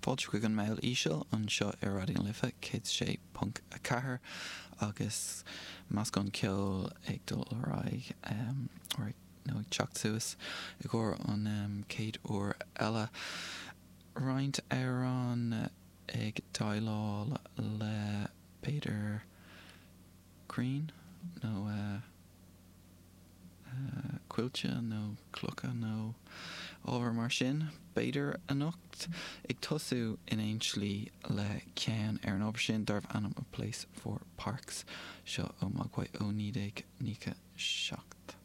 Fáilte chuig an Meall Íseal anseo ar Raidió na Life 106.4 agus meascán ceoil ag dul ar aghaidh nó ag teacht suas i gcomhair an chéad uair eile. Roinnt amhrán ag déileáil le b'fhéidir crainn nó coillte nó clocha nó ábhar mar sin, b'fhéidir, anocht, ag tosú in aon tslí le ceann ar an ábhar sin darbh ainm A Place for Parks, seo ó Mogwai ó 1997.